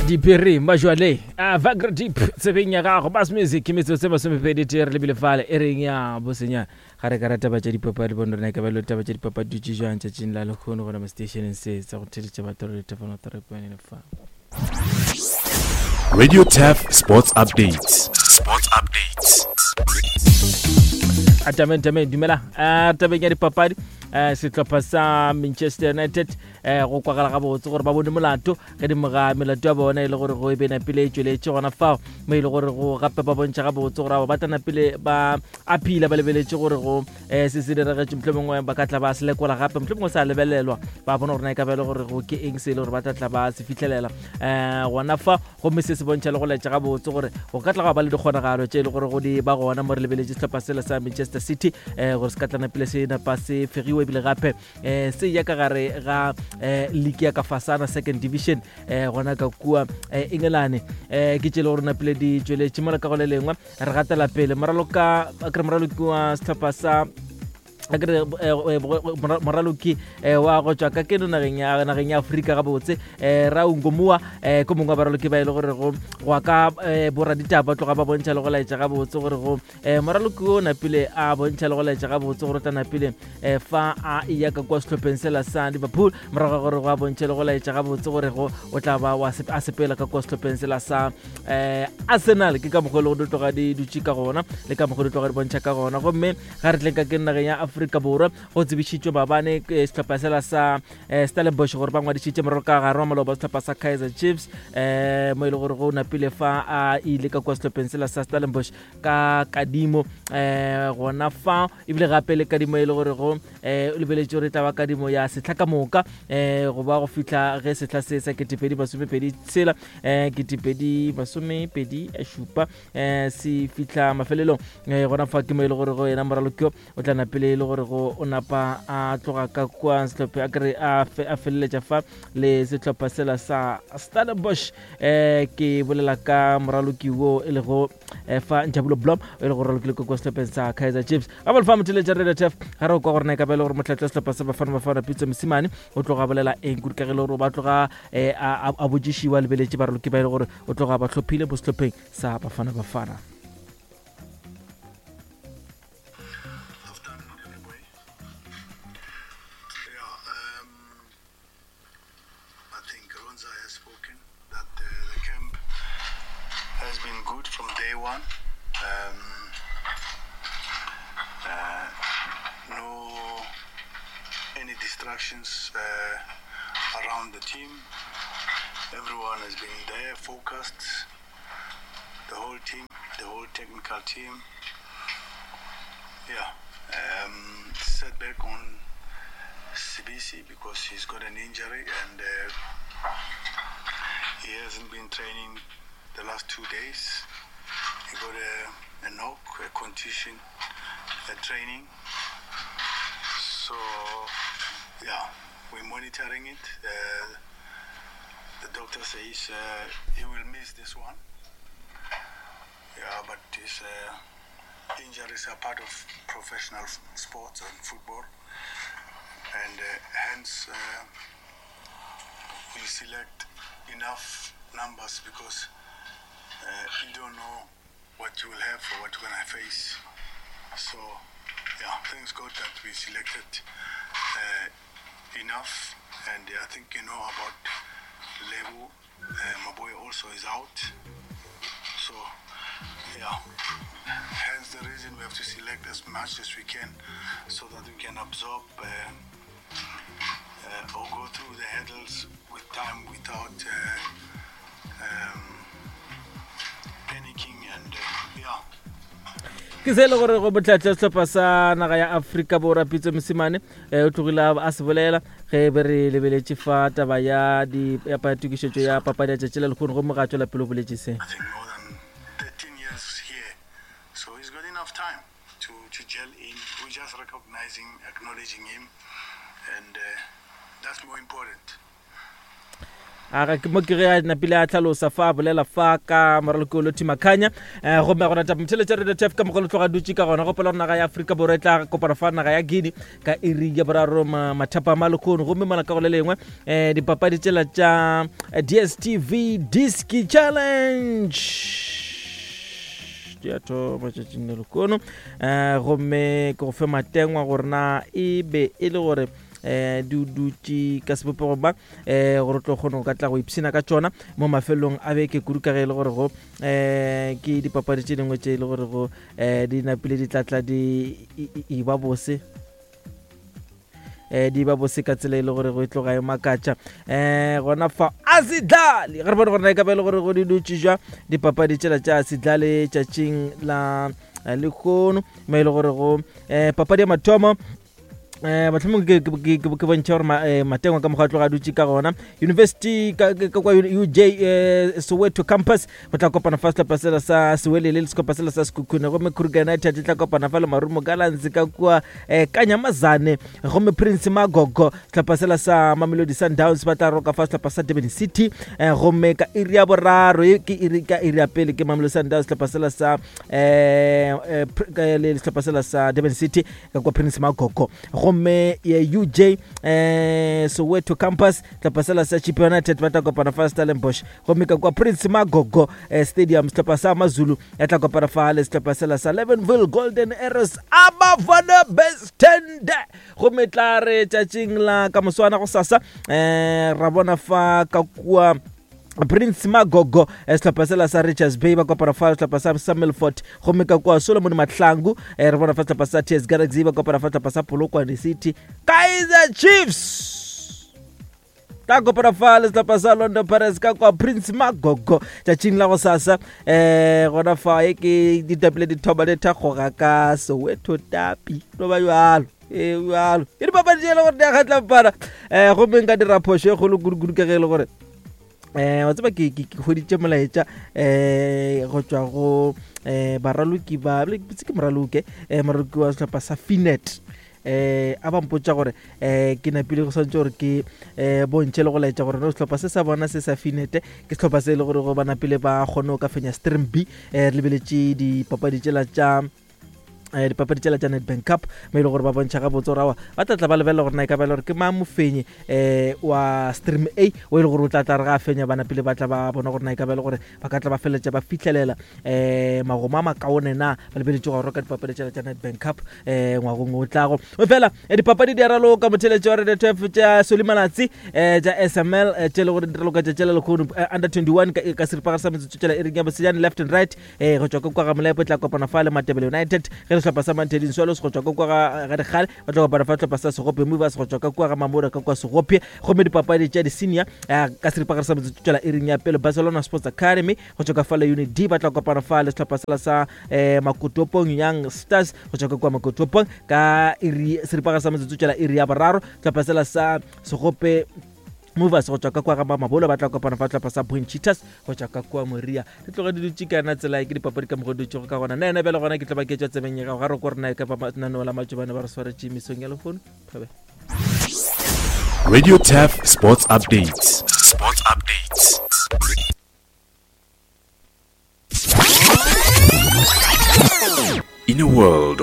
Diphiri majwale a Vagra Deep tsebeng ya gago Bass Music metsotso e masomepedi tee re lebile fale e reng ya bosenya ga re ka ra taba tša dipapadi bone rena e ka ba le taba tša dipapadi dutše jwang tšatšing la lekgono gona mo stationeng se sa go theletša batho re lethefano therapane lefa Radio Turf Sports Updates. Sports Updates. Atameng tameng dumela a tabeng ya dipapadi eh sehlopha sa Manchester United eh go kwagala gabotse gore ba bone molato ge dimo ga melato ya bona e le gore go e be napile e tšweletše gona fao mo e le gore go gape ba bontšha gabotse gore abo ba tla napile ba aphila ba lebeletše gore go um se se diragetše motlho mongwe ba ka tla ba se lekola gape motlho mongwe sa lebelelwa ba bona gore na e ka ba e le gore go ke eng se e le gore ba tla tla ba se fitlhelela um gona fa gomme se se bontšha le go laetša gabotse gore go ka tla ga ba le dikgonagalo tše e le gore go di ba gona mo re lebeletše sehlopha sela sa Manchester City um gore se ka tlana pele se napa se fegiwe ebile gape um se ya ka gare ga um league ya ka fasana second division um gona ka kua um Engelane um ke tše e le gore napile di tšweletše mola ka go le lengwe re gatela pele moraloka kere moraloki wa sehlopha sa akere eh, eh, moraloki eh, wa go tswa ka keno nageng ya nageng ya Afrika gabotse eh ra ungomua eh ko mongwe wa baraloki ba ile e gore go go ka boraditaba tloga ba bontšha le go laetša gabotse gore go moraloki o napile a bontšha le go laetša gabotse gore o tla napile fa a eya ka kwa sehlopheng sela sa Liverpool morago ga gore go a bontšha le go laetša gabotse gore go o tla ba wa a sepela ka kwa sehlopheng sela sa eh Arsenal ke ka mokgwa e le go tloga di dutše ka gona le ka mokgwa di tloga di bontšha ka gona gomme ga re tleng ka ke nageng ya Afrika Borwa go tsebišitšwe maabane eh, sehlopha sela sa eh, Stellenbosch gore ba ngwadišitše morago ka gare wa maloba sehlopha sa Kaizer Chiefs eh mo e le gore go napile fa a ile ka kwa sehlopheng sela sa Stellenbosch ka kadimo eh gona fa ebile gape le kadimo e le gore go eh o lebeletše gore e tla ba kadimo ya sehla ka moka eh go ba go fihla ge sehla se sa 2026 eh 2027 eh se fihla mafelelong eh gona fa ke mo e le gore go yena moralokio o tla napele e le gore go o napa a tloga ka kwa sehlopha a kere a feleletša fa le sehlopha sela sa Stellenbosch eh ke bolela ka moraloki wo e lego eh, fa Njabulo Blom e le gore ralokile kwa sehlopheng sa Kaizer Chiefs ga ba lefa motheletša Radio Turf ga re kwa gore na e ka ba e le gore motlhatla sehlopha sa Bafana Bafana Pitso Mosimane o tloga bolela eng kudu ka ge e le gore ba tloga eh, a botšišiwa lebeletše baraloki ba e le gore o tloga ba hlophile mo sehlopheng sa Bafana Bafana. I think Ronza has spoken that uh, the camp has been good from day one. Um, uh, no any distractions uh, around the team. Everyone has been there, focused. The whole team, the whole technical team. Yeah, um, setback on Sibisi because he's got an injury and uh, he hasn't been training the last two days. He got a, a knock, a contusion at training. So, yeah, we're monitoring it. Uh, the doctor says uh, he will miss this one. Yeah, but his uh, injuries are part of professional sports and football. And uh, hence, uh, we select enough numbers because uh, you don't know what you will have or what you're going to face. So, yeah, thanks God that we selected uh, enough. And I think you know about Lebu. Uh, my boy also is out. So, yeah, hence the reason we have to select as much as we can so that we can absorb uh, uh, or go through the hurdles with time without uh, um, panicking and uh, yeah. ke se e le gore go botlhatla sehlopha sa naga ya Afrika Borwa Pitso Mosimane eh, o tlogile a se bolela ge be re lebeletše fa taba ya di ya tokišetšo ya papadi ya tšatši la lehono gomme ga tšwela pele o boletše se. I think more than 13 years here. So he's got enough time to, to gel in. We're just recognizing, acknowledging him, and uh, that's more important. A ga mo ke ge a napile a tlhalosa fa a bolela fa ka moraloki o Lotty Makhanya. Gomme gona taba motheletša Radio Turf ka mokgwa le tloga dutše ka gona. Gopola gore naga ya Afrika Borwa e tla kopana fa naga ya Guinea ka iri ya boraro mathapama lehono. Gomme mola ka go le lengwe dipapadi tšela tša DStv Diski Challenge di a thoma tšatšing le lehono. Gomme ke go fe matengwa gore na e be e le gore di dutše ka sebopego ba gore tlo kgone go ka tla go ipshina ka tšona mo mafelong a beke, kudu ka ge e le gore go ke dipapadi tše dingwe tše e le gore go di napile di tlatla di e ba bose, di ba bose ka tsela e le gore go e tloga e makatša. Gona fa a se dlale ge re bone gore na e ka ba e le gore go di dutše jwa dipapadi tšela tša se dlale tšatšing la lehono, mo e le gore go papadi ya mathomo mohlomongwe ke bontšha gore matengwa ka mokgwa a tloga a dutše ka gona. University ka kwa UJ Soweto campus go tla kopana fa sehlopha sela sa Sewelele le sehlopha sela sa Sekhukhune, gomme Kruger United e tla kopana fa le Marumo Gallants ka kua Kanyamazane, gomme Prince Magogo sehlopha sela sa Mamelodi Sundowns ba tla roka fa sehlopha sa Durban City, gomme ka iri ya boraro ke iri ka iri ya pele ke Mamelodi Sundowns sehlopha sela sa le sehlopha sela sa Durban City ka kwa Prince Magogo, gomme ya UJ Soweto campus sehlopha sela sa Chippa United ba tla kopana fa Stellenbosch, gomme ka kwa Prince Magogo Stadium sehlopha sa Mazulu ya tla kopana fa le sehlopha sela sa Levenville Golden Arrows Abafana Bestende. Gomme tla re tšatšing la ka moswana go sasa ra bona fa ka kua Prince Magogo sehlopha sela sa Richards Bay ba kopana fa sehlopha sa sa Milford, gomme ka kua Solomon Mahlangu re bona fa sehlopha sa TS Galaxy ba kopana fa sehlopha sa Polokwane City. Kaizer Chiefs tla kopana fa le sehlopha sa Orlando Pirates ka kwa Prince Magogo tšatšing la go sasa. Gona fa e ke ditapile dithoba le thakgoga ka Soweto tapi no ba jalo jalo ke dipapadi tše e le gore di a kgatla mpana. Gomme nka dira phošo e kgolo kudu-kudu ka ge e le gore wa tseba ke hweditše molaetša go tšwa go baraloki ba ke moraloke moraloki wa sehlopha sa Finet a ba mpotša gore ke napile go swantše gore ke bontšhe le go laetša gore no sehlopha se sa bona se sa Finet ke sehlopha se e le gore go ba napile ba kgone go ka fenya Stream B. Re lebeletše dipapadi tšela tša dipapadi tšela tša Nedbank Cup mo e le gore ba bontšha gabotse gore awa ba tla tla ba lebelela gore na e ka ba le gore ke mang mofenyi wa Stream A o e le gore o tla tla re ga a fenya ba napile ba tla ba bona gore na e ka ba le gore ba ka tla ba feleletša ba fihlelela magomo a makaone na ba lebeletše go roka dipapadi tšela tša Nedbank Cup ngwagong o tlago. Fela dipapadi di a raloka motheletši wa Radio Turf tša Solly Malatsi tša SML tše le gore di raloka tšatši la lehono under 21 ka seripagare sa metsotso tšela e reng ya bosejane left and right go tšwa ka kwa ga Molepo e tla kopana fa le Matebele United, ge sehlopha sa Mantheding Swallows go tšwa ka kwa ga Dikgale ba tla kopana fa sehlopha sa Segophe Movers go tšwa ka kwa ga Mamora ka kwa Segophe. Gomme dipapadi tša di-senior ka seripagare sa metsotso tšwela iring ya pele Barcelona Sports Academy go tšwa ka fa le Unit D ba tla kopana fa le sehlopha sela sa Makotopong Young Stars go tšwa ka kwa Makotopong ka iri seripagare sa metsotso tšwela iri ya boraro. Sehlopha sela sa Segophe Movers go tšwa ka kwa ga Mamabolo ba tla kopana fa sehlopha sa Point Cheetahs go tšwa ka kua Moria. Di tloga di dutše ka yona tsela e ke dipapadi ka mokgwa di dutšego ka gona. Nna yena bjale gona ke tlo ba ke tšwa tsebeng ya gago ga re ko rena e ka ba lenaneo la Matšobane ba re swaretše mesong ya lehono. Thabe. Radio Turf Sports Updates. Sports Updates. In a world of